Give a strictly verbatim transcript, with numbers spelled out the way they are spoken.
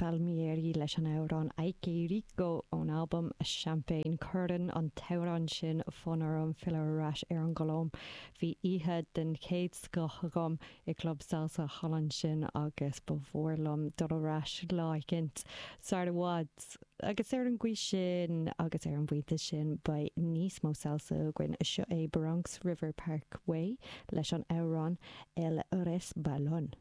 Palmieri leis an amhrán Ay Qué Rico ón albam Champagne Cuireann an t-amhrán sin fonn orm filleadh ar ais ar an gColóim. Bhí oíche den chéad scoth agam i gclub salsa thall ansin agus ba mhór liom dul ar ais lá éicint sar i bhfad. Agus ar an gcaoi sin agus ar an bpointe sin beidh níos mó salsa againn seo é Bronx River Parkway leis an amhrán El Resbalón.